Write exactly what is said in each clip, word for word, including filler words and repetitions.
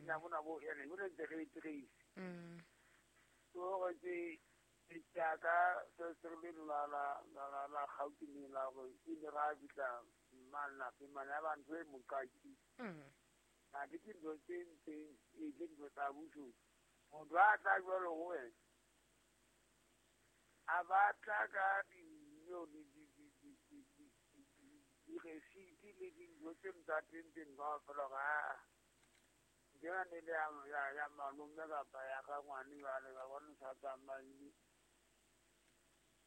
kenya mona bo ene bo ntse re trace. Mm. So re tse tsaka se se le la la la la Gauteng la go ile ra bitla mana pe mana ba ntwe mokaki. Mm. Na ke dintho tse ntseng e ke dintho tsa boshodu. Motho a tla jwalo ho wena a batla ka dinyo di di di di di di di le dintho tse tsa teng teng kaofela ga ke yone le ya ya ya malome kapa ya ka ngwane jwale ka bona sa tsamaile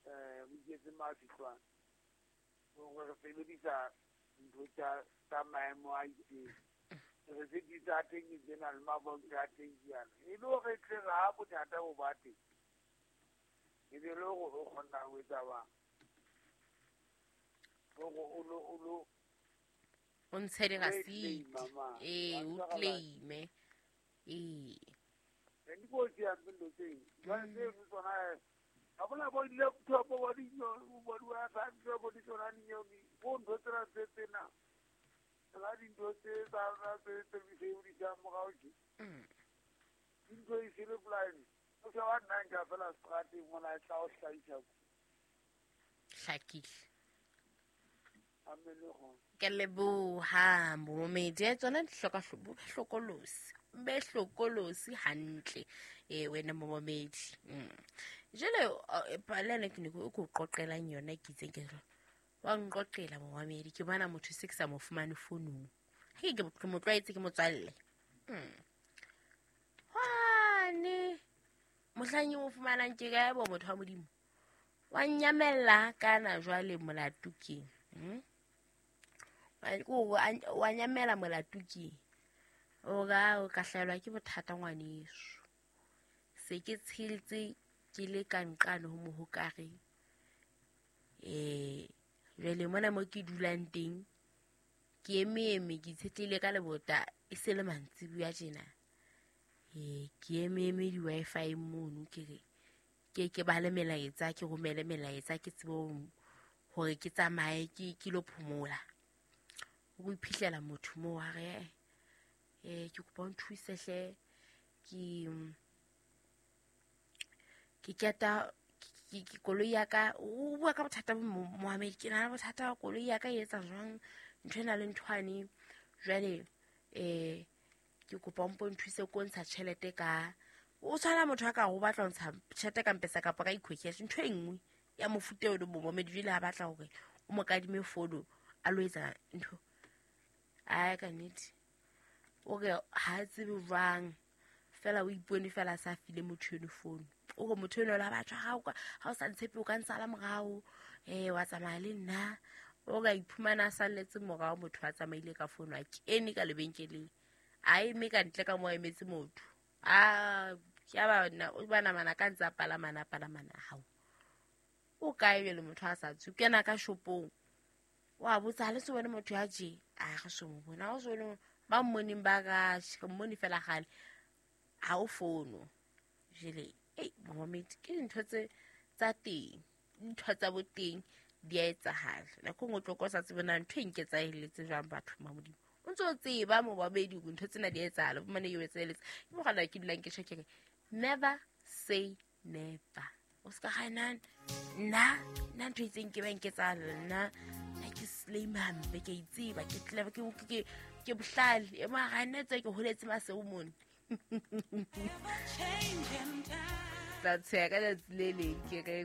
eh o iketse mafitlwane gore re sebedisa ntho tsa tsa maemo a itseng re se di tsa teng tsena le mabonke a teng jana e le hore tle ga bothata bo ba teng e be le hore o kgona ho etsa bang hore o lo o lo o ntshe dirasiti ee o claime ee e di kotsi ya ntho tseo jwale tseno tsona ha bona bo di-laptop bo di bo di-Wi-Fi bo di tsona dinyewe bo ntho tsena tse tsena la dintho tse tsa rona tse tse di sebedisang morao tje dintho e sele blind o se wa nna nka fela seterateng mona e tla o hlahisa hlakile ke leboha momedi tsona di hloka hlokolosi be hlokolosi hantle eh wena momedi. Jele palele ke ne ke go qoqelang yona ke itseng ke wa nqoqela momedi ke bona motho se ke sa mo fumane founung ha ke ke mo tlwaetse ke motswalle. Hwane mohlang o fumanang ke kae bo motho wa Modimo wa nyamella kana jwale molato ke hm wa nyamela molato ke o ga o ka hlaelwa ke bothata ngwaneso se ke tsheletse ke le ka nqane ho mohokare eh jwale mona mo ke dulang teng ke eme ke tshetlile ka lebota e se le mantsibuya tjena eh ke eme eme di wifi mono ke re ke ke bale melaetsa ke romele melaetsa ke tsebe hore ke tsamaye ke ke lo phomola o iphihlela motho mo wa re eh ke kopa o nthuse hle ke ke keta ke koloi ya ka o bua ka bothata bo Mohammed ke na le bothata koloi ya ka e etsa jwang ntho ena le nthwane jwale eh ke kopa o mpo nthuse ko ntsha tjhelete ka o tshwana motho a ka go batla ntsha tjhelete ka mpesa kapa ka ecocash ntho e nngwe ya mofuta o le Mohammed jwale ha batla hore o mo kadime fono a lo etsa ntho ai ka nnete o re ha tsebe jwang fela o ipone fela sa file motho eno fono o re motho eno la batho ha o ha o sa ntshepe o ka ntsala morao eh wa tsamaya le nna o ka iphumana a salletse morao motho a tsamaile ka fono a kene ka lebenkeleng a eme ka ntle ka mo emetse motho a ke ba nna o bana mana ka ntsa palamana palamana hao o kae le motho a sa tswe kena ka shopong wa botsa le se bone motho ya je a re so mo bona o so ba mmoneng ba ka re mmone fela gale ha o fono jele ei Mohammed ke dintho tse tsa teng dintho tsa boteng di a etsahala nako nngwe tlo kosa tsebe na ntho e nketsaheletse jwang batho ma Modimo o ntse o tseba mo babedi hore ntho tsena di etsahala bo mane e etsaheletse ke mogala ke dulang ke tjho ke re never say never o ska gana nna nna ntho e itseng ke ba nketsahala nna nna ke slay hampe ke itseba ke clever ke ke ke bohlale e mara nna tse ke holetse maseo mone tla tsheya ka letsatsi le leng ke re